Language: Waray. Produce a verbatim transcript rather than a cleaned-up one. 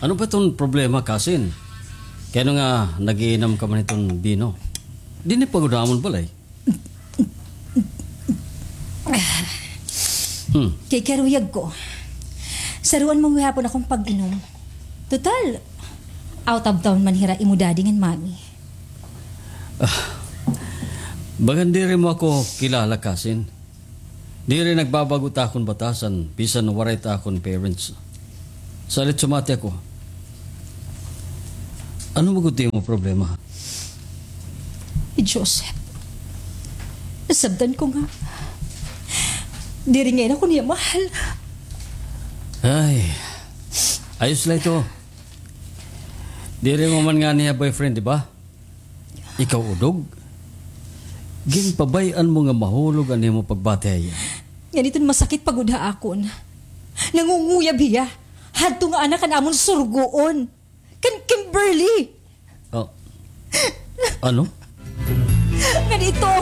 Ano ba iton problema, kasin? Kay ano nga nag-iinam ka man hiton bino? Dinhi pa gud ha amon balay. Hmm. Kay karuyag ko, saruan mo gihapon akon pag-inom. Total, out of town man hira imo daddy ngan mommy. Ah, bagan diri mo ako kilala, kasin. Diri nagbabag-o it akon batasan, bisan waray it akon parents. Salit sumati ako. Ano man gud it imo problema? Hi Joseph, nasabtan ko nga diri ngay-an ako niya mahal. Ay, ayos la ito. Diri mo man ngani hiya boyfriend, di ba? Ikaw, Udog, ginpabay-an mo nga mahulog an imo pagbati ha iya. Ngan iton masakit pa gud ha akon, nangunguyab hiya hadto nga anak han amon surgoon, kan Kimberly. Oh. Ano? Ngan ito,